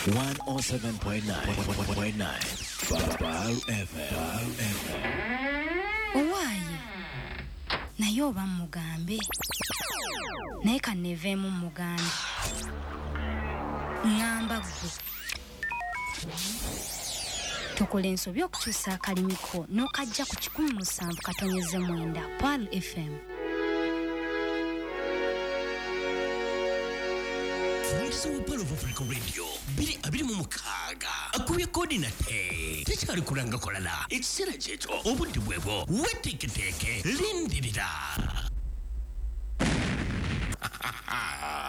107.9 Pearl FM. Owaaye, naye oba mugambe, naye kanneeveemu mugambe. Ŋŋamba ggwe tokola ensobi okukyusa akalimiko n'okajja ku 107.9 Pearl FM. Wa Pearl of Africa Radio 2026 akubye kodi nate tekyali kulanga kolala ekiseera kyekyo obudde bwebwo weteeketeeke lindirira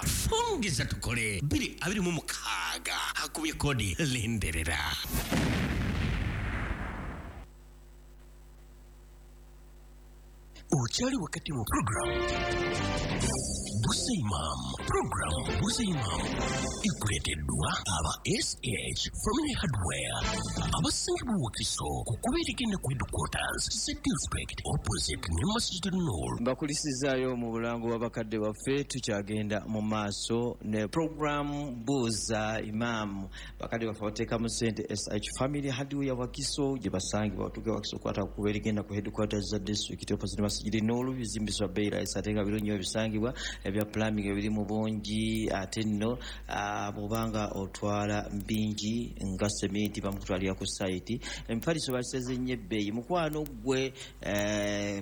fungiza tukole 2026 akubye kodi lindirira. Okyali wakati mu program Buuza Imam. Program Buuza Imam ekuleeteddwa aba SH Family Hardware abasangibwa Wakiso ku kkubo erigenda ku headquarters za district opposite ne Masjid Nur. Mbakulisizaayo mu bulango bw'abakadde baffe, tukyagenda mu maaso ne program Buuza Imam. Bakadde baffe bateekamu ssente SH Family Hardware Wakiso gye basangibwa. Otuuke Wakiso kwata ku kkubo erigenda ku headquarters za district opposite ne Masjid Nur, bizimbiswa bbeeyi layisi ate nga birungi ebisangibwa ebya plumbing ebiri mu bungi. Ate nno bw'obanga otwala bingi nga sementi bamukutwalira ku sayiti. Emifaliso baseze nnyo ebbeeyi. Mukwano ggwe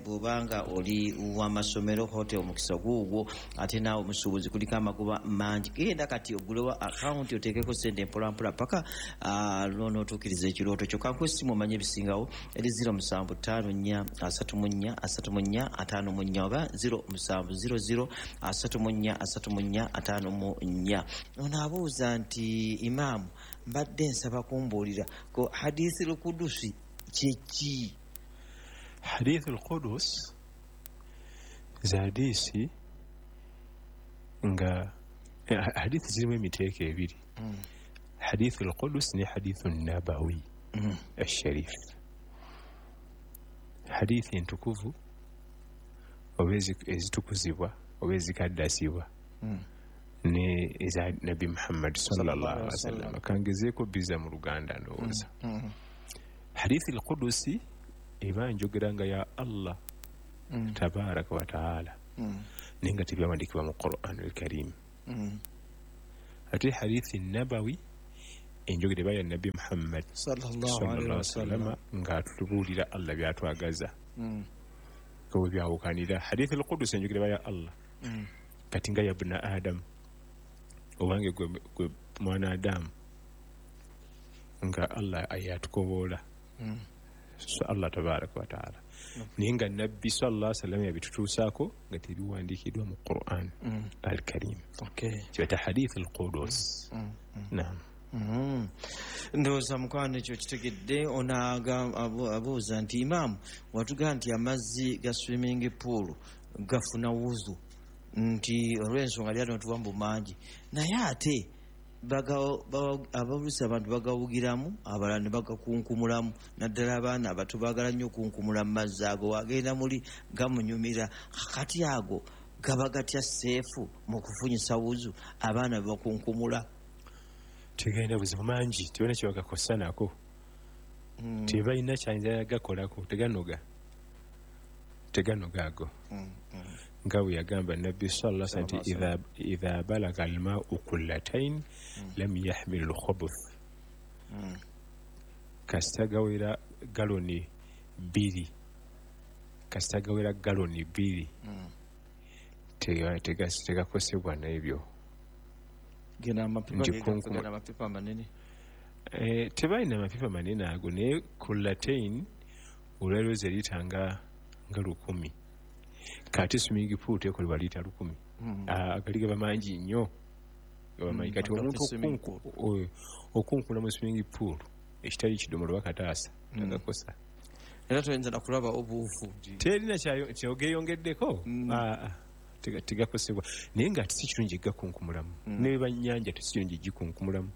bw'obanga oli w'amasomero, hotel omukisa guugwo, ate naawe omusuubuzi kuliko amagoba mangi. Genda kati ogulewo akawunti oteekeko ssente mpolampola paka lw'onootuukiriza ekirooto kyo. Kankuwe essimu omanye ebisingawo eri 0754 34 34 54 oba 0700 34 34 54. Ono abuuza nti imaamu, mbadde nsaba kumbuulira ko hadithi al-Qudusi kyeki? Hadith al-Qudus za hadisi nga hadithi zirimu emiteeko ebiri. Hadith al-Qudus ne hadith an-Nabawi al-Sharif. Hadithi entukuvu oba ezitukuzibwa oba ezikaddasibwa ne eza Nabbi Muhammad sallallahu alaihi wasallam. Kangezeeko biza mu Luganda ndowooza. Hadithi al-Qudusi eba njogera nga ya Allah tabaraka wa taala, naye nga tebyawandiikibwa mu Quran al-Karim. Ate hadithi nabawi enjogera eba ya Nabbi Muhammad sallallahu alaihi wasallam ng'atubuulira Allah byatwagaza. Ko byawukanira. Hadithi al-Qudus enjogera eba ya Allah kati nga ya bna Adam, obange gwe mwana Adamu, nga Allah ayatukoboola. So Allah tabaraka wa taala, naye nga Nabbi sallallahu alaihi wasallam yabitutuusaako nga tebiwandiikiddwa mu Quran al-Karim. Kiyita hadith al-Qudus. Naam. Ndowooza mukwano ekyo kitegedde. Ono abuuza nti imaamu, watugamba nti amazzi ga swimming pool gafuna wuzu, nti olw'ensonga lyano tuwa mbu mangi, naye ate abalusi abantu bagawugiramu, abalala ne bagakunkumulamu, naddala abaana abato baagala nnyo okunkumula mu mazzi ago, wagenda muli gamunyumira. Kati ago gaba gatya seefu mu kufunyisa wuzu abaana bebakunkumula? Tegenda buzibu mangi, tebalina kye bagakosa nako, tebalina kyayinza gakolako, teganoga teganoga ago. Nga bwe yagamba Nabbi sallallahu alaihi wasallam nti idha balaga al-ma'u kullatain lam yahmil al-khubuth. Kasita gawera galoni 2, kasita gawera galoni 2 tegakosebwa n'ebyo. Amapipa manene. Tebalina amapipa manene ago, naye kullatain olwaliro ze liita nga 1000. Kati swimming pool tekolebwa liita 1000. Agali gaba mangi nnyo, gaba mangi. Kati omuntu okunkula mu swimming pool ekitali kidomola oba kataasa tagakosa. Era toyinza nakulaba obuufu terina kyogeyongeddeko tegakosebwa. Naye nga si kirungi gakunkumulamu, neba nnyanja tesi kirungi gikunkumulamu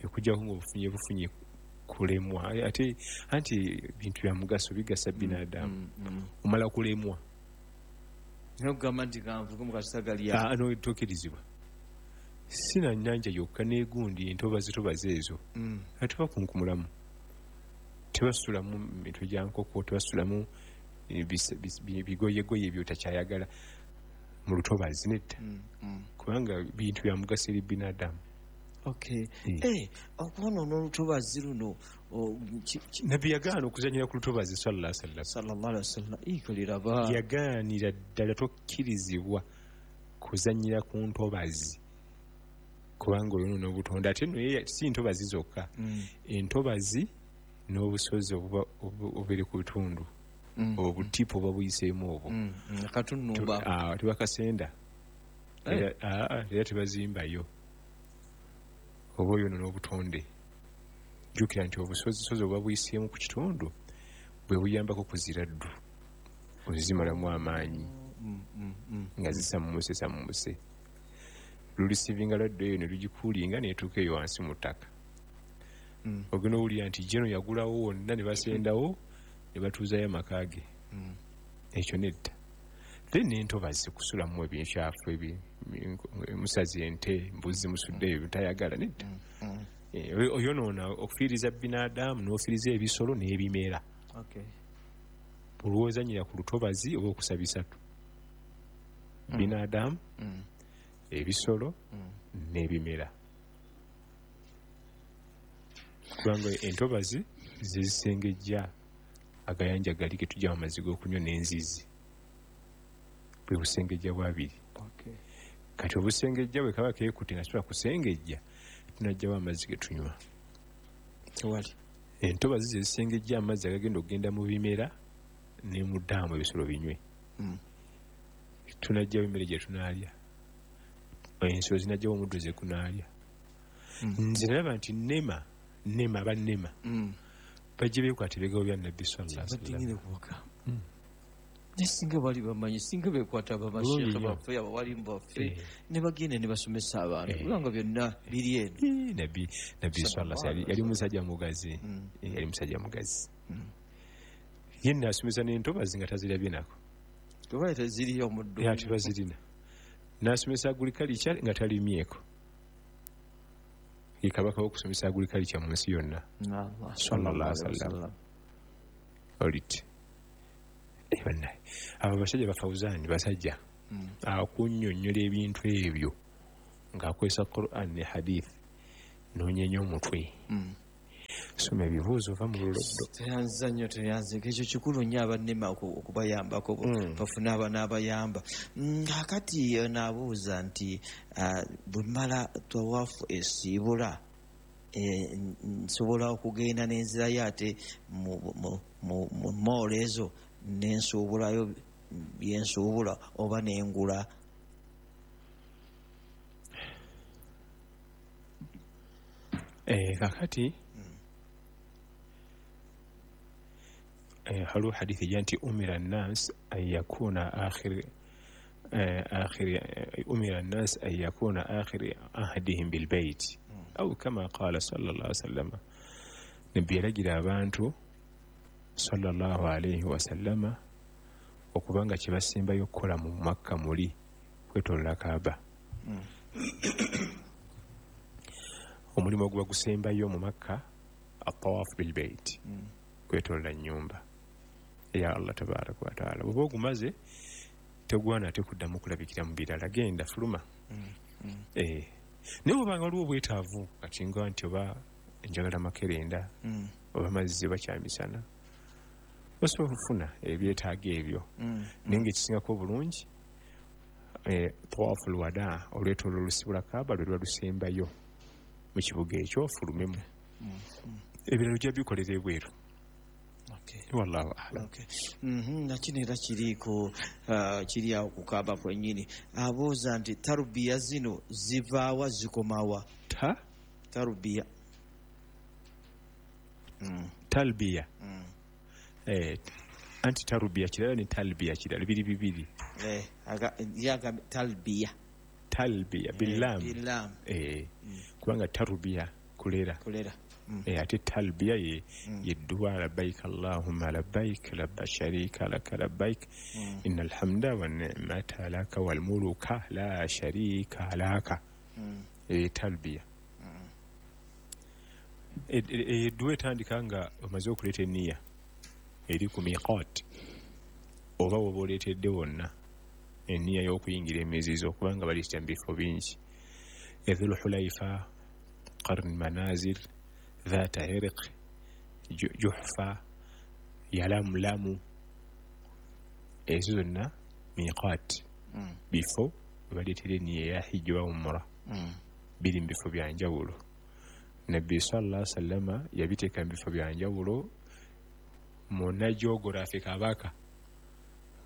okujjako ng'obufunye bufunye kulemwa. Ate anti bintu bya mugaso bigasa binadamu, omala kulemwa nokugamba nti kanvuge mu kasita gali notuukirizibwa. Sina nnyanja yokka n'egundi entobazi ezo. Tebakunkumulamu, tebasulamu mitwe gya nkoko, tebasulamu bigoyegoye ebyotakyayagala mu lutobazi nedda, kubanga bintu bya mugaso eri binadamu. Okay. Okwonoona olutobazi luno, Nabbi yagaana okuzanyira ku lutobazi sallallahu alaihi wasallam. Ikoliraba yagaanira ddala, tokkirizibwa kuzanyira ku ntobazi kubanga oyonoona obutonde. Ate nno si ntobazi zokka, entobazi n'obusozi obubeere ku bitundu, obutipu oba buyiseemu obwo akatunumba tebakasenda era tebazimbayo, oba oyonoona obutonde. Jjukira nti obusozisozi obuba buyiseemu ku kitundu bwe buyambako kuzira ddu, ozimalamu amaanyi nga zisammuse lulisivinga lwaddu eyo ne lugikuulinga neetuuka eyo wansi mu ttaka. Ogenda owulira nti jeno yagulawo wonna ne basendawo ne batuuzayo amaka ge. Ekyo nedda. Then n'entobazi kusulamu ebikyafu, musazi ente, mbuzi musuddeyo bitayagala nedda. Oyonoona okufiiriza binadamu n'ofiiriza ebisolo n'ebimera. Olwozanyira ku lutobazi oba okusa bisatu, binadamu, ebisolo n'ebimera, kubanga entobazi zezisengejja agayanja gali getujja amazzi g'okunywa n'enzizi, bwe busengejja bwabiri. Kati obusengejja bwe kaba keekutte nga sobola kusengejja, tunajjawo amazzi getunywa. Tewali. Entobazi zezisengejja amazzi agagenda okugenda mu bimera ne mu ddaamu ebisolo binywe. Tunajjawo emmere gye tunaalya, ensolo zinajjawo omuddo ze kunaalya. Nze nalaba nti nema bannema bajje beekwata ebigambo bya Nabbi sallallahu alaihi wasallam. Ne singa bali bamanyi, singa beekwata bamasheekhe baffe, abawalimu baffe, ne bagenda ne basomesa abantu, kubanga byonna biri eno. Nabbi sallallahu alaihi wasallam yali musajja mugazi, yali musajja mugazi. Ye n'asomesa n'entobazi nga tazirabye nako, kuba teziriyo omuddo. Tebazirina. N'asomesa agriculture nga talimyeko. Ye kabaka w'okusomesa agriculture mu nsi yonna sallallahu alaihi wasallam. Oliti bannaye abo basajja bafauzani basajja akunnyonnyola ebintu ebyo ng'akozesa Quran ne hadith n'onyenya omutwe. Soma ebibuuzo ova mu luloddo. Teyanza nnyo, teyanze. Ekyo kikulu nnyo abannema okubayambako, bafune abanaabayamba. Kaakati naabuuza nti bwe mmala tawaafu esiibula, nsobola okugenda n'enzirayo ate mu moolo ezo nensuubulayo byensuubula oba nengula? Kakati haliwo hadithi ejja nti umira nnas an yakuna akhir umira nnas an yakuna akhir ahdihim bilbait au kama qala sallallahu alaihi wasallam. Nabbi yalagira abantu sallallahu alaihi wasallama okubanga kyebasembayo okukola mu Makka muli kwetolola Kaaba. Omulimu oguba gusembayo mu Makka atawafu bilbait, kwetolola nnyumba ya Allah tabaraka wa taala. Bw'oba ogumaze tegwana ate kuddamu kulabikira mu birala, genda fuluma. Naye bw'obanga waliwo obwetaavu kati nga nti oba njagala makerenda oba mazzi oba kyamisana, osobola okufuna ebyetaago ebyo. Naye ng'ekisingako obulungi tawafu lwada, olwetolola olusibula Kaaba lwe luba lusembayo mu kibuga ekyo, ofulumemu. Ebirala ojja bikolera ebweru. Wallahu a'lam. Nakino era kiriiko kiri awo ku Kaaba kwennyini. Abuuza nti tarubiya zino zivaawa zikomawa? Tarubiya. Talbiya. Anti tarubiya kirala ne talbiya kirala, biri bibiri. Talbiya. Talbiya billam. Kubanga tarubiya kulera. Ate talbiya ye dduwa labbaik allahumma labbaik labba sharika laka labbaik innal hamda wan ni'mata laka wal muluka la sharika laka. Talbiya edduwa etandika nga omaze okuleeta eniya eri ku miqat, oba woba oleetedde wonna eniya y'okuyingira emizizo, kubanga baliita mu bifo bingi: Dhul Hulaifa, Qarn Manazil, Dhata Irq, Juhfa, Yalamlamu. Ezo zonna miqat, bifo webaleetera eniya eya hijja oba umura. Biri mu bifo byanjawulo. Nabbi sallallahu alaihi wasallama yabiteeka mu bifo byanjawulo muna geography kabaka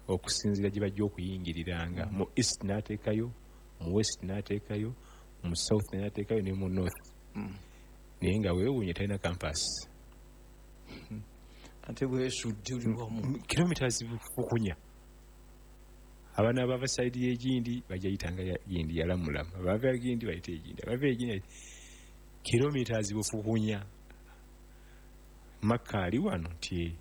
okusinziira gye bajja okuyingiriranga. Mu east n'ateekayo, mu west n'ateekayo, mu south n'ateekayo ne mu north. Naye nga weewuunye talina campus. Ate bwesudde uli wamu kilometers bukunya. Abaana bava side y'egindi bajja yitanga gindi Yalamulamu, abava egindi bayita egindi, abava egindi kilometers bufukunya. Makka ali wano nti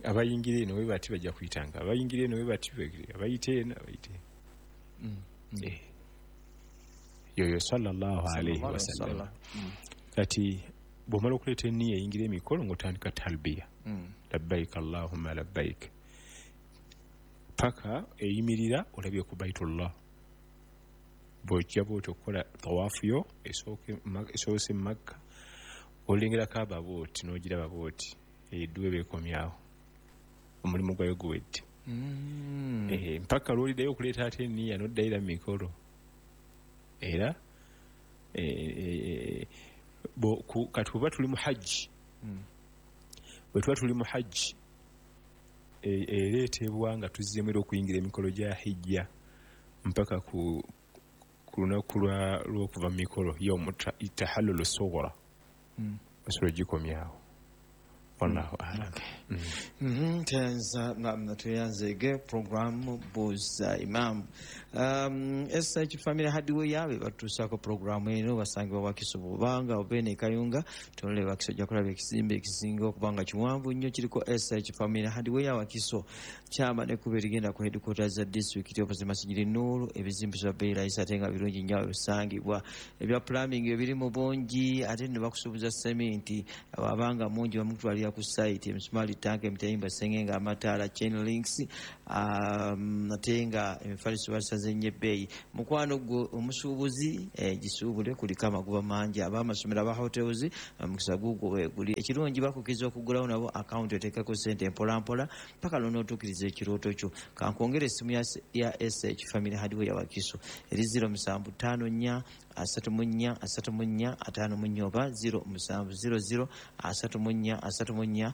abayingira eno we bati bajja kuyitanga, abayingira eno we bati abayita eno abayita eno. Yoyo sallallahu alaihi wasallam. Kati bw'omala okuleeta eniya eyingira emikolo ng'otandika talbiya, labbaik allahumma labbaik, paka eyimirira olabye ku Baitullah. Bw'ojja bw'oti okukola tawaafu yo esoose Makka, olengera Kaaba bw'oti n'ogiraba bw'oti, edduwa ebeekomyawo, omulimu gwayo guwedde. Mpaka lw'oliddayo okuleeta ate eniya n'oddayira mu mikolo. Era kati bwe tuli mu hajji, bwe tuba tuli mu hajji ereetebwa nga tuzzeemu era okuyingira emikolo gya hijja mpaka ku lunaku lw'okuva mu mikolo yawmu tahallulu sughra, osobola ogikomyawo. Wallahu a'lam. Tweyanzeege programu Buuza Imam. SH Family Hardware be batuusaako programu eno, basangibwa Wakiso. Bw'obanga ova eno e Kayunga tunula Wakiso, ojja kulaba ekizimbe ekisinga okuba nga kiwanvu nnyo kiriko SH Family Hardware Wakiso. Kyama n'ekkubo erigenda ku headquarters za disitulikiti opposite Masjid Nur. Ebizimbe bya bbeeyi layisi ate nga birungi nnyo ebisangibwa. Ebya plumbing ebiri mu bungi, ate ne bakusuubuza seminti abanga mungi bamutwalira ku site, emisumaali, tanka, emitayimbwa, sengenge, amataala, chain links, ate nga emifaliso basaze nnyo ebbeeyi. Mukwano gwe omusuubuzi, gisuubule, kuliko amagoba mangi. Ab'amasomero, aba hotels, omukisa gugwo weeguli. Ekirungi bakukkiriza okugulawo nabo akawunti, oteekako sente mpolampola paka lw'onootuukiriza ekirooto kyo. Kankwongere essimu ya SH Family Hardware Wakiso eri 0754 34 34 54 oba 0700 34 34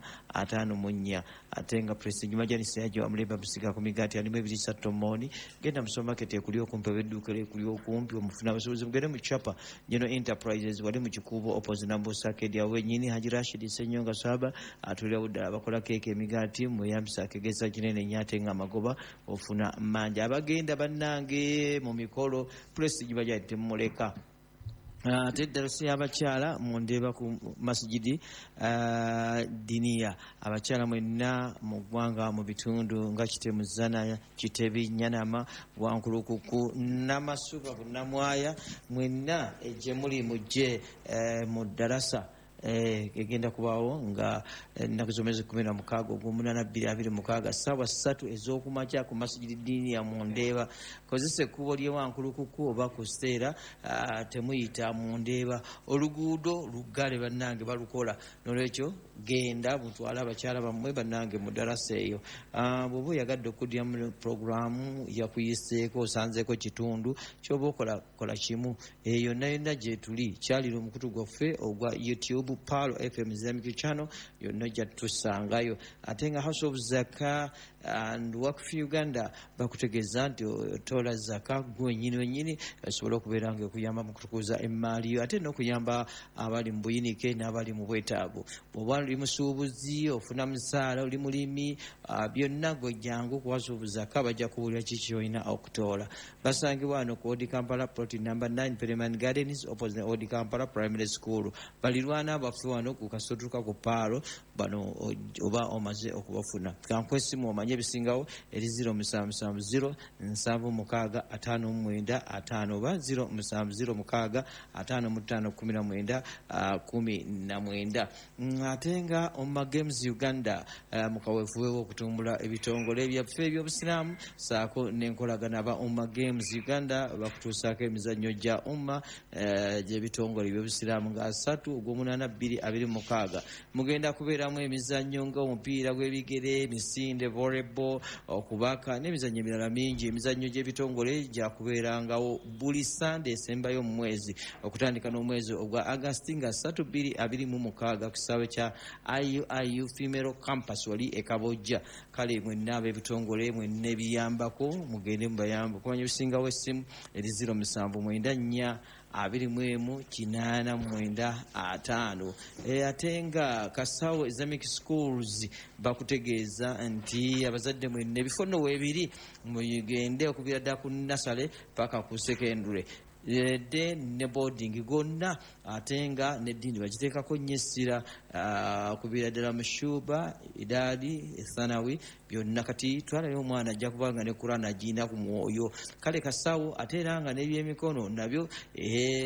54. Ate nga Prestige Majanisi yajo amulemba musiga ku migaati alimu ebirisa tomoni. Genda mu supermarket ekuli okumpi oba edduuka ekuli okumpi omufuna abasobozi. Mugende mu Chapa General Enterprises wali mu Kikuubo opposite Nambosa Arcade, awo wennyini Haji Rashid Ssenyonga Swaba atulirawo ddala. Abakola keeke, emigaati, mweyambisa akegeza kinene nnyo ate nga amagoba ofuna mangi. Abagenda bannange mu mikolo, Prestige Bajali temumuleka. Ate eddala si abakyala mundeeba ku Masjidi Diniya. Abakyala mwenna mu ggwanga, mu bitundu nga Kitemu, Zana, Kitebi, Nyanama, Wankulukuku, Namasuba, Bunamwaya, mwenna gye muli mujje mu ddalasa egenda kubaawo nga ennaku z'omwezi 16 ogw'omunaana 2026 ssaawa 3 ez'okumakya ku Masjidi Diniya mu Ndeeba. Kozesa ekkubo ly'ewankulukuku oba ku Seera, temuyita mu Ndeeba, oluguudo luggale bannange balukola. Nolwekyo genda mutwale abakyala bammwe bannange mu ddalasa eyo. Bw'oba oyagadde okuddira mu puroguramu yakuyiseeko osanzeeko kitundu kyoba okola, kola kimu, eyo yonna yonna gye tuli kyalira omukutu gwaffe ogwa YouTube, Pearl FM Islamic Channel, yonna ojja tusangayo. Ate nga House of Zaka and Wakf Uganda bakutegeeza nti otoola zaka gwe wenyini wenyini osobole okubeera nga ekuyamba mu kutukuza emmaali yo, ate n'okuyamba abali mu buyinike n'abali mu bwetaavu. Bw'oba oli musuubuzi, ofuna musaala, oli mulimi, byonna gwe jangu ku House of Zaka, bajja kubuulira kiki kyolina okutoola. Basangibwa wano ku Old Kampala, plot number 9, Pereman Gardens, opposite Old Kampala Primary School. Balirwana baffe wano ku Kasotuka ku Paalo bano oba omaze okubafuna. Kankwesimu omanye. Okumanya ebisingawo eri 0770 76 59 5 oba 0706 55 19 19. Ate nga Omma Games Uganda mukaweefube w'okutumbula ebitongole byaffe ebyobusiraamu saako n'enkolagana aba Omma Games Uganda bakutuusaako emizannyo gya Umma gy'ebitongole ebyobusiraamu nga 3 ogw'omunaana 2026. Mugenda kubeeramu emizannyo nga omupiira gw'ebigere, emisinde, volleyball, okubaka n'emizannyo emirala mingi. Emizannyo gy'ebitongole gyakubeerangawo buli Sande esembayo mu mwezi okutandika n'omwezi ogwa Agasti nga 3 2026 ku kisaawe kya IUIU Female Campus wali e Kabojja. Kale mwenna ab'ebitongole mwenna ebiyambako mugende mubayambe. Okumanya ebisingawo essimu eri 0794 21 89 5. Ate nga Kasawo Islamic Schools bakutegeeza nti abazadde mwenna ebifo nno weebiri mugende okubira ddala ku nasale paka ku secondary de ne boarding gonna, ate nga n'eddiini bagiteekako nnyo essira okubira ddala mu shuba, idaadi, ethanawi byonna. Kati twalayo omwana ajja kubanga ne Kurani agirina ku mwoyo. Kale Kasawo ate era nga n'ebyemikono nabyo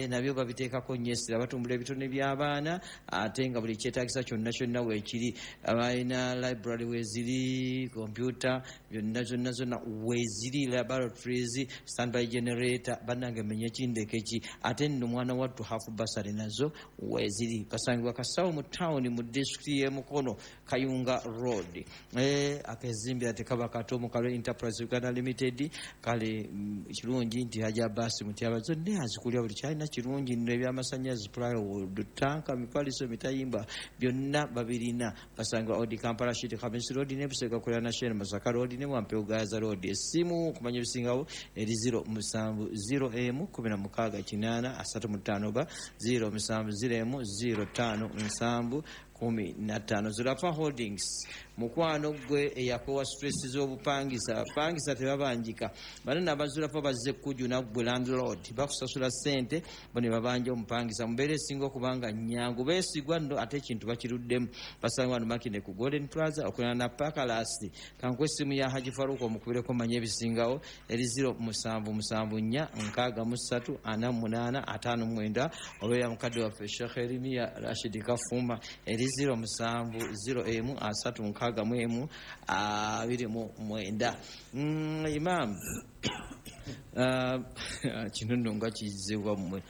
nabyo babiteekako nnyo essira, batumbula ebitone by'abaana ate nga buli kyetaagisa kyonna kyonna weekiri. Balina library weeziri, kompyuta byonna zonna zonna weeziri, laboratories, standby generator. Bannange menye kindeke ki, ate nno mwana wattu half bursary nazo weeziri. Basangibwa Kasawo mu town mu disitulikiti y'e Mukono, Kayunga Road. Akezimbira tekaba kato mu Kalwe Enterprise Uganda Limited. Kale kirungi nti Haji Abbas Mutyaba zonna azikulya buli kyalina kirungi nno, ebyamasannyalaze, plywood, tanka, mifaliso, mitayimba byonna babirina. Basangibwa Odi Kampala Street, Khamisi Road ne Busega kuliraana Shell Masaka Road ne Wampeo Gaza Road. Essimu okumanya ebisingawo eri 070 16 8 35 oba 070 05 7 15. Zulafa Holdings mukwano gwe eyakowa stress z'obupangisa. Abapangisa tebabanjika, bano abazulafa bazze kujuna gwe landlord, bakusasula ssente bo ne babanja omupangisa. Mubeera esinga okubanga nyangu, beesigwa nno ate ekintu bakiruddemu. Basanga wano Makindye ku Golden Plaza okulana na Pakalasi. Kankuwa essimu ya Haji Faruku omukubireko manye ebisingawo eri 0774 63 48 59 oba eya mukadde waffe Sheikh Erimiya Rashid Kafuma eri 070 361 29. Imam kino nno nga kizibwa mmwe.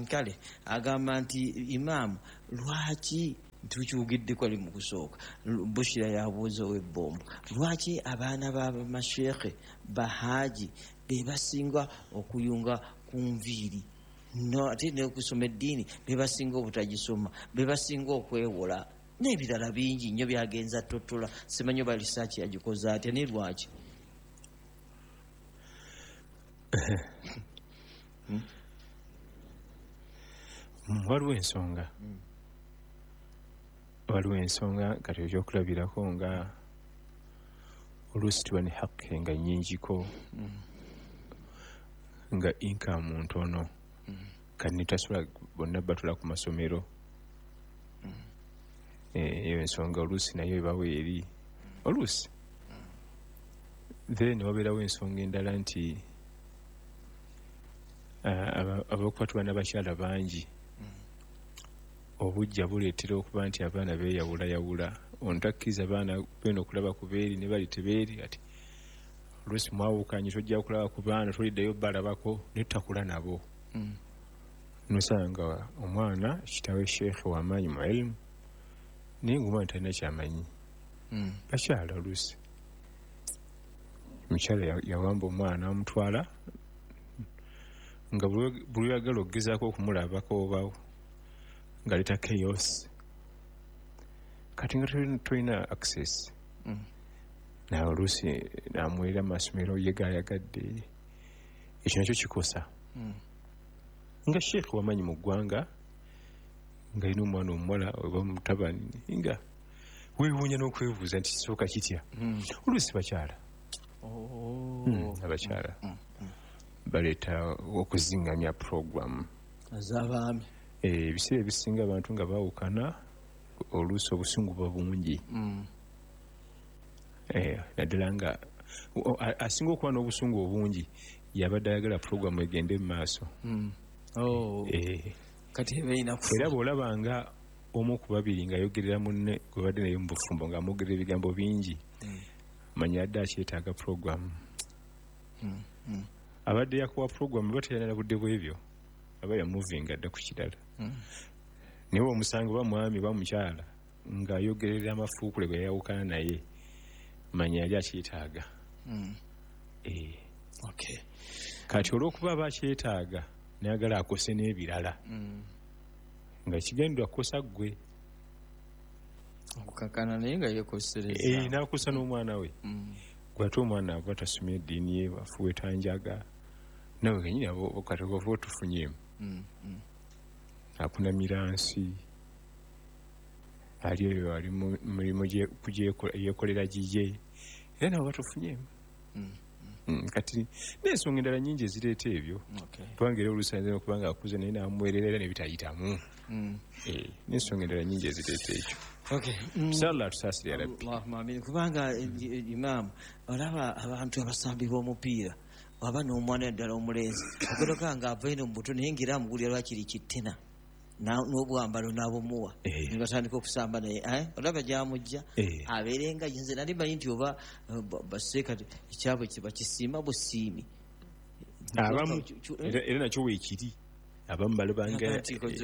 Kale agamba nti imaamu lwaki tukyugiddeko ali mu kusooka, Bushira yabuuza ow'ebbombo, lwaki abaana b'abamasheekhe bahaji be basinga okuyunga ku nviiri, no ate n'okusoma eddiini be basinga obutagisoma, be basinga okwewola n'ebirala bingi nnyo byagenza totola. Simanyi oba lisaaki yagikoze atya naye lwaki? Waliwo ensonga, waliwo ensonga kati ekyokulabirako nga oluusi tuba ne hakke nga nnyingiko nga income ntono, kati netasobola bonna batula ku masomero. Eyo ensonga oluusi nayo ebawo eri oluusi. Then wabeerawo ensonga endala nti abakuba tuba n'abakyala bangi, obujja buleetera okuba nti abaana beeyawulayawula. Ono takkiriza baana beno okulaba ku beeri ne bali tebeeri, ati oluusi mwawukanye tojja kulaba ku baana, toliddayo balabako ne tutakula nabo. Nosanga omwana kitawe sheekhe w'amaanyi mu ilimu naye ng'omwana talina kyamanyi. Bakyala oluusi omukyala yawamba omwana amutwala nga buli oyagala okugezaako okumulabako obawo nga leeta chaos, kati nga tolina access. Naye oluusi namuweerera mu masomero ye gaayagadde, ekyo nakyo kikosa. Nga sheekhe wamanyi mu ggwanga nga alina omwana omuwala oba mutabani, nga weewuunya n'okwebuuza nti kisooka kitya. Oluusi bakyala abakyala baleeta okuzingamya program ez'abaami. Ebiseera ebisinga abantu nga baawukana oluusi obusungu buba bungi. Naddala nga asinga okuba n'obusungu obungi yabadde ayagala puroguramu egende mu maaso. Kati ebeerina kufa. Era bw'olaba nga omu ku babiri ng'ayogerera munne gwe badde naye mu bufumbo ng'amwogerera ebigambo bingi, manya adde akyetaaga puroguramu. Abadde yakuwa puroguramu aba teyalina budde bw'ebyo, aba yamuvinga dda ku kirala. Naye omusanga oba mwami oba mukyala ng'ayogerera amafuukule gwe yayawukana naye, manya yali akyetaaga. Kati olw'okuba aba akyetaaga nayagala akose n'ebirala, nga kigendwa kukosa ggwe okukakana naye nga yeekosereza. N'akosa n'omwana we. Gwe ate omwana aba tasomye eddiini ye, afuweeta njaga, nawe kenyini kati ova otufunyeemu. Akunamira nsi, ali eyo ali mu mirimu yeekolera giye, era nawe batufunyeemu. Kati n'ensonga endala nnyingi ezireeta ebyo, kubanga era oluusi ayinza okuba nga akuze naye n'amuweerera era ne bitayitamu. N'ensonga endala nnyingi ezireeta ekyo. Inshallah tusaasire ya Rabbi. Allahumma amin. Kubanga imaamu olaba abantu abasambi b'omupiira aba n'omwana ddala omulenzi ogoloka nga ava eno mu buto naye ng'era amugulira lwakiri kittina n'obwambalo n'abumuwa, ne batandika okusamba naye, olaba gy'amujja abeere nga nze nali manyi nti oba baseeka ekyabwe bakisiima busiimi. Abamu era nakyo weekiri, abamu balabanga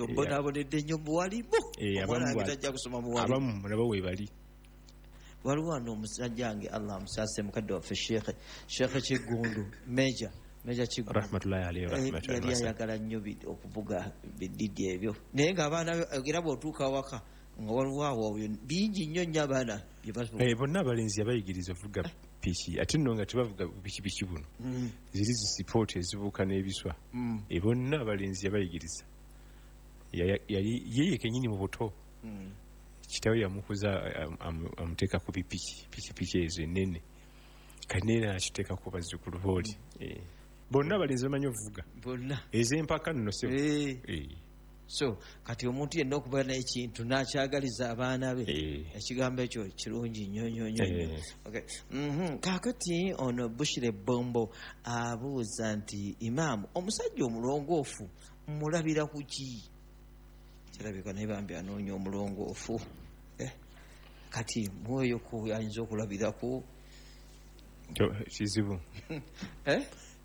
mbonaabonedde nnyo muwalimu, omwana wange tajja kusoma muwalimu. Abamu nabo weebali. Waliwo wano omusajja wange Allah amusaase mukadde waffe Sheikh Kiggundu, Major Kiggundu rahmatullahi alayhi wa yali ayagala nnyo okuvuga bididi ebyo, naye ng'abaana era bw'otuuka awaka nga waliwo awo bingi nnyo nnyo abaana bye bavuga. Bonna abalenzi yabayigiriza okuvuga piki, ate nno nga tebavuga pikipiki buno, ziri zisipooti ezibuuka n'ebiswa. Bonna abalenzi yabayigiriza, yali yeye kennyini mu buto. Kitaawe yamukuza amuteeka ku pikipiki ezo ennene, kati naye era nakiteekako bazzukulu booli. Bonna abalenzi bamanyi okuvuga bonna ez'empaka nno. So kati omuntu yenna okuba n'ekintu n'akyagaliza abaana be, ekigambo ekyo kirungi nnyo nnyo nnyo. Kaakati ono Bushire Bombo abuuza nti imaamu, omusajja omulongoofu mulabira ku ki? Kirabika naye bambi anoonya omulongoofu. Kati mwoyo ku ayinza okulabirako kizibu.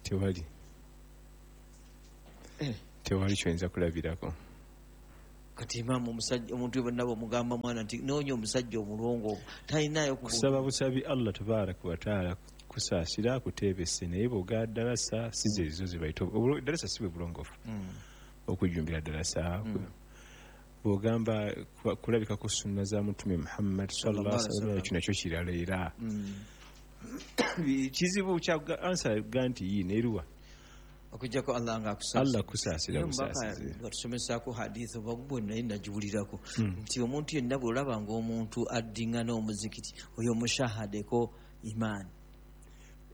Tewali tewali kyoyinza kulabirako. Kati imaamu omusajja omuntu bonna bw'omugamba mwana nti noonya omusajja omulongoofu talinayo kusaba busabi Allah tabaraka wa taala kusaasira akuteebese, naye bw'ogaa ddalasa si ze zo ze bayita ddalasa si bwe bulongoofu, okujjumbira ddalasa. Bw'ogamba kulabika ku sunna za Mutume Muhammad sallallahu alaihi wasallam, ekyo nakyo kirala era kizibu kya ansa ga nti yii neeruwa okujjako Allah nga akusaasira. Allah kusaasira busaasizi. Batusomesaako hadith oba gwe naye nagiwulirako nti omuntu yenna bw'olaba ng'omuntu addingana omuzikiti oyo mushahadeko imaani.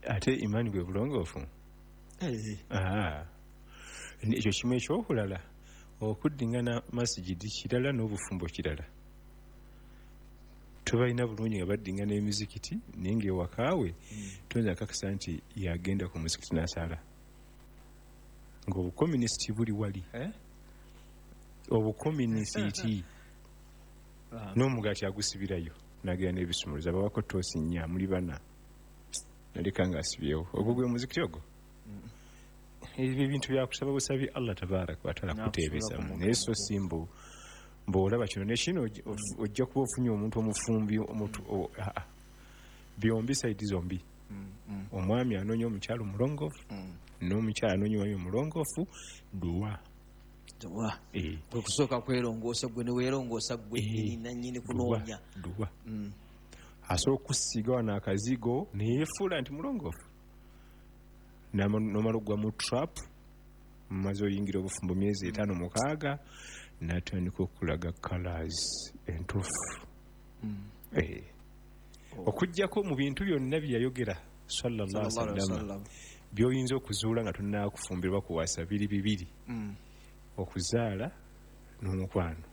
Ate imaani bwe bulongoofu. Ekyo kimu. Ekyokulala okuddingana masigidi kirala n'obufumbo kirala. Tubalina bulungi nga baddingana emizikiti, naye ng'ewakaawe toyinza kakasa nti yagenda ku muzikiti n'asaala, ng'obukominisiti buli wali. Obukominisiti n'omugaati agusibirayo n'agenda n'ebisumuluzo, abawako toosi nnya muli bana naleka ng'asibyewo. Ogwo gwe muzikiti ogwo. Ebyo ebintu byakusaba busabi Allah tabaraka wa taala kuteebezamu, naye so si mbu bw'olaba kino ne kino ojja kuba ofunye omuntu omufumbi byombi saidi zombi. Omwami anoonya omukyala omulongoofu, n'omukyala anoonya omwami omulongoofu. Duwa kwe kusooka kwerongoosa gwe ne weerongoosa gwe nannyini kunoonya. Duwa asobola okusiiga wano akazigo neyeefuula nti mulongoofu, n'omala okugwa mu trap, mumaze oyingira obufumbo myezi 5 6, n'atandika okulaga colors entuufu. Okuggyako mu bintu byonna bye yayogera sallallahu alaihi wasallam by'oyinza okuzuula nga tonnakufumbirwa kuwasa biri bibiri, okuzaala n'omukwano.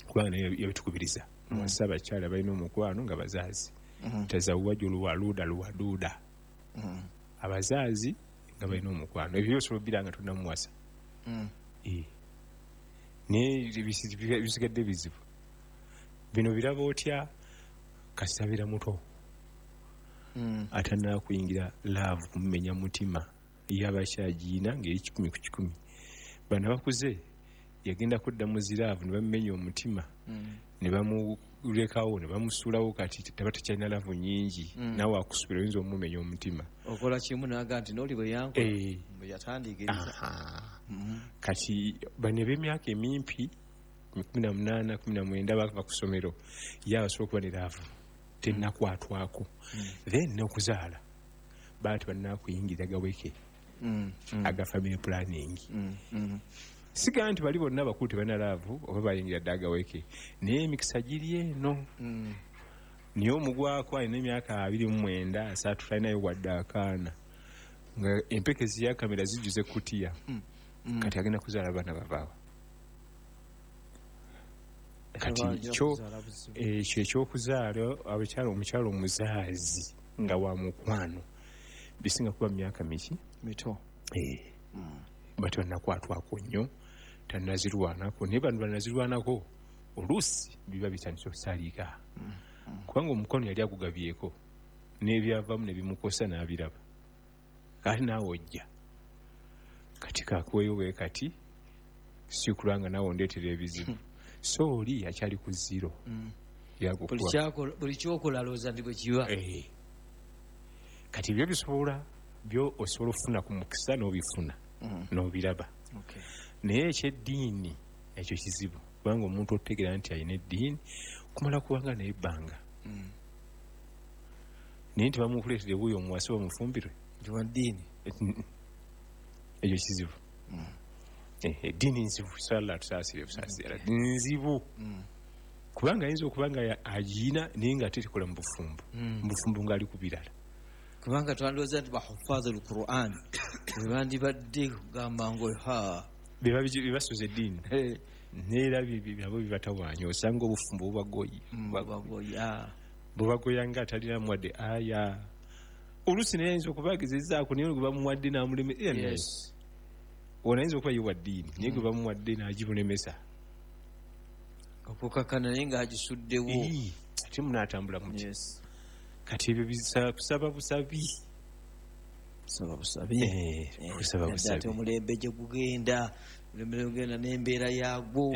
Kubanga naye yabitukubiriza muwasa abakyala balina omukwano nga bazaazi. Tazawwaju lwaluda lwaduda. Abazaazi nga balina omukwano, ebyo byose obira nga tonamuwasa. Naye bisigadde bizibu bino biraba otya kasabira muto atanaba kuyingira laavu kumumenya mutima yabakyagiina ngeri 100 ku 100. Bano bakuze yagenda kudda mu ziraavu ne bamumenya omutima ne bamulekawo ne bamusuulawo, kati taba tekyalina laavu nyingi, nawe akusubira oyinza omumenya omutima. Okola kimu naga nti n'oli bwe yankola bwe yatandiikiriza. Kati bano eb'emyaka emimpi 18 19 bava ku ssomero, ye abasobola okuba ne laavu tennakwatwako. Then n'okuzaala baba tebannakuyingira gaweke aga family planning. Siga nti bali bonna bakulu tebalina laavu oba bayingira dda agaweke, naye emikisa giri eno. Naye omugwako alina emyaka 29 30 talinayo wadde akaana, nga empeke ziyakamera zijjuze kutiya. Kati agenda kuzaala abaana bavaawa. Kati ekyo ekyokuzaala abakyala, omukyala omuzaazi nga wa mukwano bisinga kuba myaka miki mito. Bati bannakwatwako nnyo, tannazirwanako, naye bano bannazirwanako oluusi biba bitandise okusaliika, kubanga omukono yali agugabyeko n'ebyavamu ne bimukosa n'abiraba. Kati naawe ojja kati kakuweyo bwe kati si kulanga naawe ondeetera ebizibu. So oli akyali ku zero. Buli kyokola alowooza nti bwe kiba. Kati ebyo bisobola byo osobola okufuna ku mukisa n'obifuna n'obiraba. Naye ekyeddiini ekyo kizibu, kubanga omuntu otegeera nti alina eddiini kumala kubanga naye ebbanga. Naye nti bamukuleetera wuuyo omuwase bamufumbirwe nti wa ddiini, ekyo kizibu. Eddiini nzibu, sala tusaasire busaasira, nzibu. Kubanga ayinza okuba nga agiina naye nga ate tekola mu bufumbo, mu bufumbo ng'ali ku birala. Kubanga twandowooza nti bahufaaza al-Qur'an bwe bandibadde kugamba ngo ha bebasuza eddiini, neera nabo bibatawaanya, osanga obufumbo bubagoya bubagoya nga atalina muwadde aya. Oluusi naye ayinza okuba agezezaako naye gwe bamuwadde n'amuleme. Ono ayinza okuba ye wa ddiini naye gwe bamuwadde n'agimulemesa okukakana naye ng'agisuddewo, ate munaatambula muti. Kati ebyo kusaba busabi, kusaba busabi. Ate omulembe gye gugenda, omulembe gugenda n'embeera yaagwo.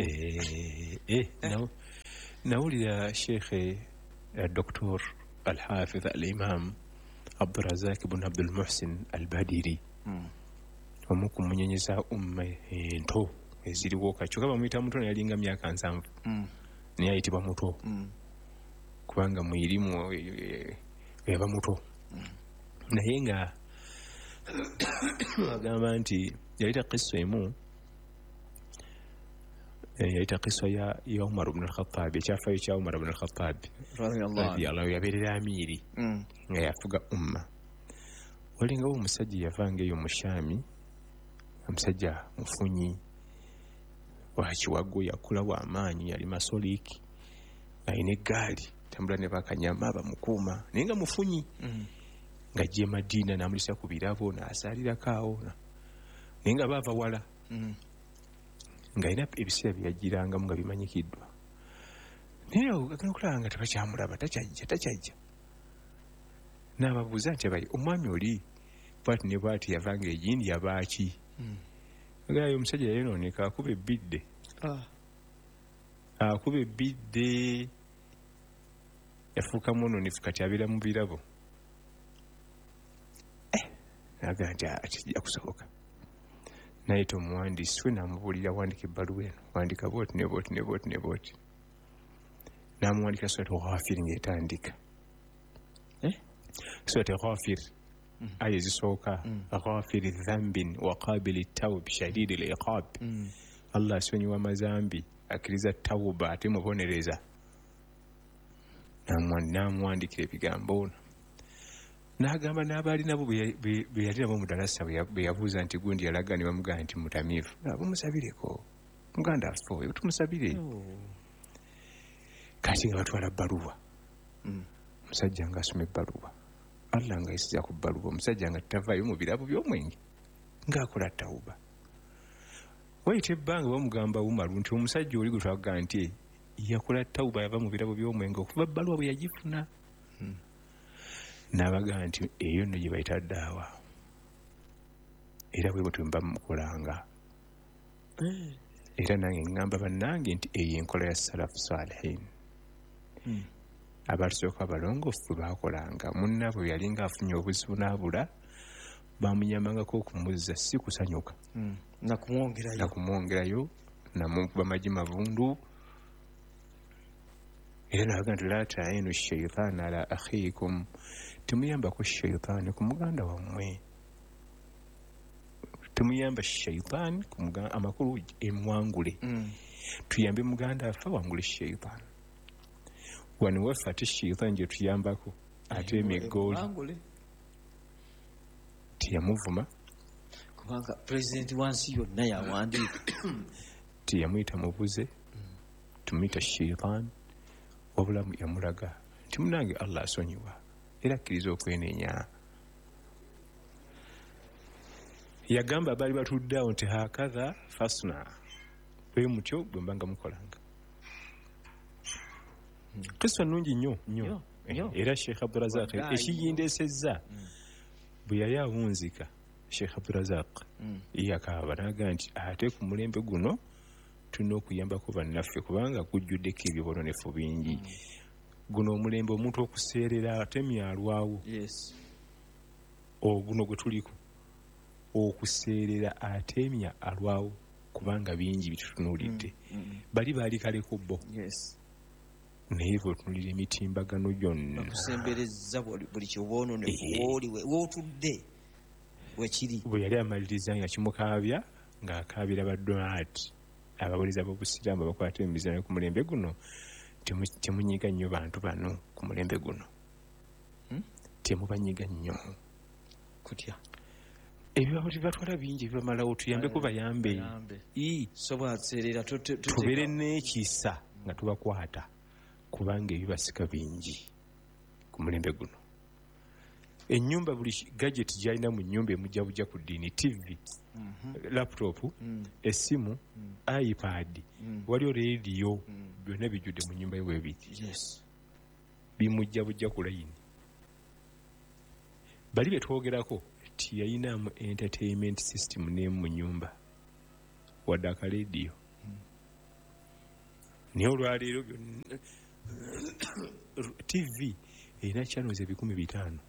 Nawulira Sheikh Dr. Al-Hafidh Al-Imam Abdurazak ibn Abdul Muhsin Al-Badiri, omu ku munyenye za umma ento eziriwo kati, kyokka bamuyita muto naye yalinga myaka 70, naye ayitibwa muto kubanga mwirimu yaba muto. Naye nga agamba nti yalita kisa emu, yalita kisa ya Umar ibn al-Khattab, ekyafaayo kya Umar ibn al-Khattab radiyallahu, yabeerera amiiri nga yafuga umma. Walingawo omusajja yavanga eyo mu Shami, omusajja mufunyi wa kiwago, yakula wa amaanyi, yali masoliki, alina eggaali tambula ne bakanyama bamukuuma, naye nga mufunyi. Ng'ajja e Madiina n'amulisa ku birabo n'asaalirako awo, naye nga baava wala, ng'alina ebiseera bye yajjirangamu nga bimanyikiddwa. Naye agenda okulaba nga tebakyamulaba, takyajja. N'ababuuza nti abayi omwami oli bwati ne bwati yavanga egindi yabaaki? Agamba omusajja yayonooneka, akuba ebbidde. Akuba ebbidde, yafuuka mwononefu, kati abeera mu birabo. Agamba nti kijja kusoboka. Nayita omuwandiisi we n'amubuulira, wandika ebbaluwa eno, wandika bwoti ne bwoti ne bwoti ne bwoti. N'amuwandikira Surat Ghafir ng'etandika. Surat Ghafir aya ezisooka, Ghafiri dhambin wa qabili tawb shadidi al-iqab. Allah asonyiwa amazambi, akkiriza tawuba ate mubonereza. N'amuwandikira ebigambo ono. N'agamba n'abaali nabo be yali nabo mu ddalasa bwe yabuuza nti gundi yalaga, ne bamugamba nti mutamiivu. Bumusabireko muganda waffe oyo, tumusabire. Kati nga batwala bbaluwa. Omusajja ng'asoma ebbaluwa, Allah ng'ayisiza ku bbaluwa, omusajja nga tavaayo mu birabo by'omwenge ng'akola tawuba. Wayita ebbanga bamugamba Umaru nti omusajja oli gwe twagamba nti yakola tawuba yava mu birabo by'omwenge okuva bbaluwa bwe yagifuna. N'abagamba nti eyo nno gye bayita ddaawa, era bwe bwe mba mukolanga. Era nange ŋŋamba bannange nti eyo enkola ya salafu salihin. Abatusooka abalongoofu bwe baakolanga, munnaabwe yalinga afunye obuzibu n'abula, bamuyambangako okumuzza, si kusanyuka nakumwongerayo namukuba magi mavundu. Era nabaga nti la tainu shaitaana ala akhiikum, temuyambako shaitaani ku muganda wammwe, temuyamba shaitaani ku muganda, amakulu emwangule. Tuyambe muganda affe awangule shaitaani. Wano waffe ate shaitaani gye tuyambako ate emiggooli teyamuvuma, kubanga pulezidenti wansi yonna yawandiika, teyamuyita mubuze, tumuyita shaitaani, wabula yamulaga nti munange Allah asonyiwa era akkiriza okwenenya. Yagamba abaali batudde awo nti hakadha fasna, bwe mutyo bwe mbanga mukolanga. Kisa nnungi nnyo nnyo. Era Sheikh Abdurazak ekiyindeesezza bwe yali awunzika, Sheikh Abdurazak yakaaba n'agamba nti ate ku mulembe guno tulina okuyambako bannaffe kubanga gujjuddeko ebyobononefu bingi. Guno omulembe omuntu okuseerera ate myalwawo. Oguno gwe tuliko okuseerera atemya alwawo kubanga bingi bitutunuulidde. Bali baali kaleko bo. Naye bw'otunuulira emitimbagano gyonna okusembereza buli kyobwononefu wooli wootudde wekiri. Bwe yali amaliriza nga kimukaabya ng'akaabira badduaati ababuliza b'obusiraamu abakwata emizanyo ku mulembe guno, temunyiga nnyo bantu bano ku mulembe guno. Temubanyiga nnyo. Kutya ebibabo tebatwala bingi ebibamalawo, tuyambeko bayambe. Tubeere n'ekisa nga tubakwata kubanga ebibasika bingi ku mulembe guno. Ennyumba buli gadget gy'alina mu nnyumba emujja bujja ku ddiini, TV, laptop, essimu, iPad, waliyo rediyo, byonna bijjudde mu nnyumba ye bwe biti. Bimujja bujja ku layini. Bali be twogerako tiyayinamu entertainment system n'emu mu nnyumba wadde akalediyo. Naye olwaleero byonna TV erina channels 5,000.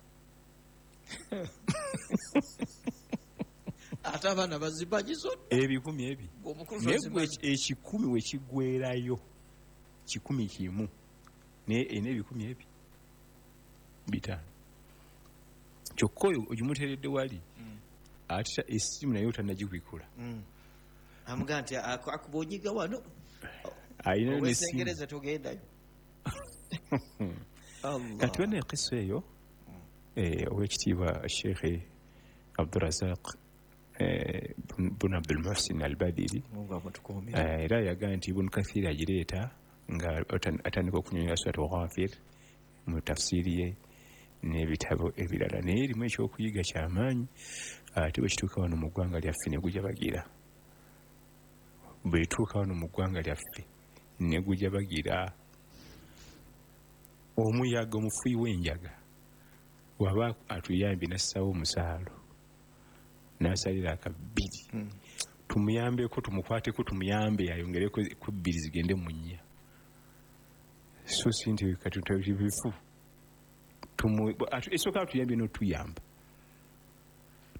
Ate abaana bazimanyi zonna 2,000. Naye gwe 1,000 we kiggweerayo 101 naye erina 2,500. Kyokka oyo ogimuteeredde wali ate essimu naye otannagibikula. Amugamba nti akuba onyiga wano ayinayo n'essimu owesengereza togendayo. Kati bana ekisa eyo owekitiibwa Sheikh Abdurazak bun Abdul Muhsin Al-Badiri era yagamba nti Ibn Kathir agireeta nga atandika okunyonyola Surat Ghafir mu tafsiri ye n'ebitabo ebirala, naye erimu ekyokuyiga kyamaanyi. Ate bwe kituuka wano mu ggwanga lyaffe ne gujabagira, bwe tuuka wano mu ggwanga lyaffe ne gujabagira omuyaga omufuyi w'enjaga waba atuyambye n'assawo omusaalo n'asalira akabbiri, tumuyambeko, tumukwateko, tumuyambe ayongereko ku 2 zigende mu 4. So si nti kati bifu esooka atuyambye n'otuyamba,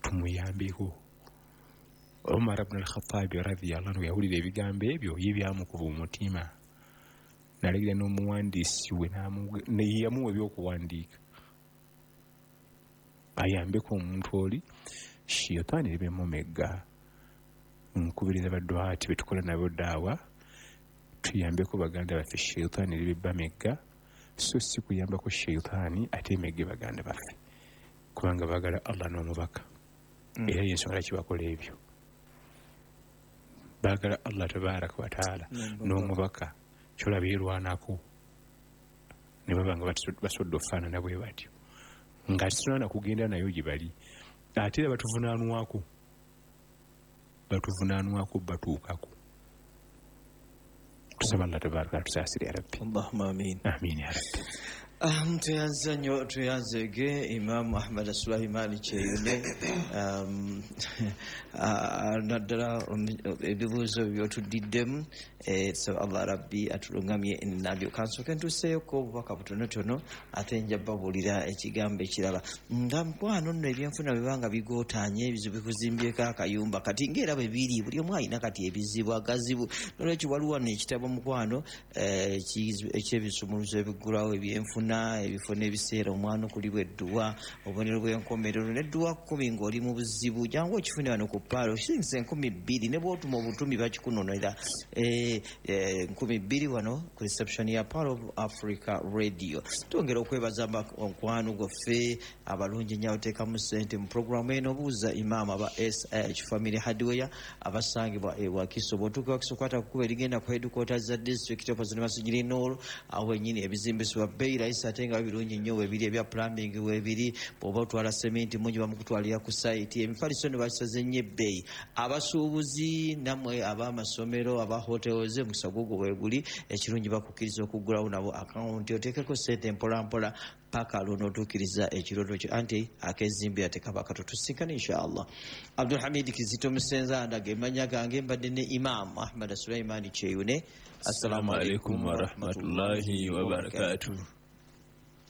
tumuyambeko. Umar ibn al-Khattab radhiyallahu anhu yawulira ebigambo ebyo ye byamukuba omutima, n'alagira n'omuwandiisi we yamuwa ebyokuwandiika ayambeko omuntu oli shaytaani ebimumegga. Nkubiriza badduaati betukola nabo daawa tuyambeko baganda baffe shaytaani ebibamegga, so si kuyambako shaytaani ate emegge baganda baffe, kubanga baagala Allah n'omubaka. Era y'ensonga lwaki bakola ebyo, baagala Allah tabaraka wa taala n'omubaka, kyolaba yeerwanako Ne baba nga basobodde okufaanana bwe batyo, nga tetunaana kugenda nayo gye bali. Ate era batuvunaanwako, batuvunaanwako, batuukako. Tusaba Allah tabaraka atusaasire ya Rabbi. Allahumma amin. Amin ya Rabbi. Tweyanza nnyo, tweyanzege Imaamu Ahmad Sulaimaani Kyeyune, naddala ebibuuzo byotuddiddemu. So Allah Rabbi atulungamye nabyo. Kansooke ntuuseeyoko obubaka butonotono, ate nja babuulira ekigambo ekirala. Nga mukwano nno, ebyenfuna bwe nga bigootaanye, ebizibu bikuzimbyeko akayumba kati ngaera bwe biri, buli omu alina kati ebizibu agazibu. Nolwekyo waliwo wano ekitabo, mukwano, ekyebisumuluzo ebiggulawo ebyenfuna, ebifo n'ebiseera, omwana okulibwa edduwa, obubonero bw'enkomerero n'edduwa 10 ng'oli mu buzibu. Jangu okifune wano ku Paalo, siringisa 2000, ne bw'otuma obutumi bakikunonera. 2000 wano ku reception ya Pearl of Africa Radio. Twongera okwebaza mukwano gwaffe abalungi ennyo abateekamu ssente mu puroguramu eno Obuuza Imaamu, aba SH Family Hardware abasangibwa e Wakiso. Bw'otuuka Wakiso, kwata ku kkubo erigenda ku headquarters za district opposite Masjid Nur, awo wennyini ebizimbisibwa bbeeyi rahisi ate nga birungi nnyo weebiri, ebya plumbing weebiri. Bw'oba otwala sementi mungi bamukutwalira ku site. Emifaliso ne bakisaze nnyo ebbeeyi. Abasuubuzi nammwe ab'amasomero, aba hotels, omukisa gugwo weeguli. Ekirungi bakukkiriza okuggulawo nabo akawunti, oteekeko ssente mpolampola paka lw'onootuukiriza ekirooto kyo, anti akezimbira tekaba kato. Tusinkane inshallah. Abdulhamid Kizito Musenza ndaga emanya gange, mbadde ne Imam Ahmad Sulaimaani Kyeyune. Assalamu alaikum warahmatullahi wabarakatuh.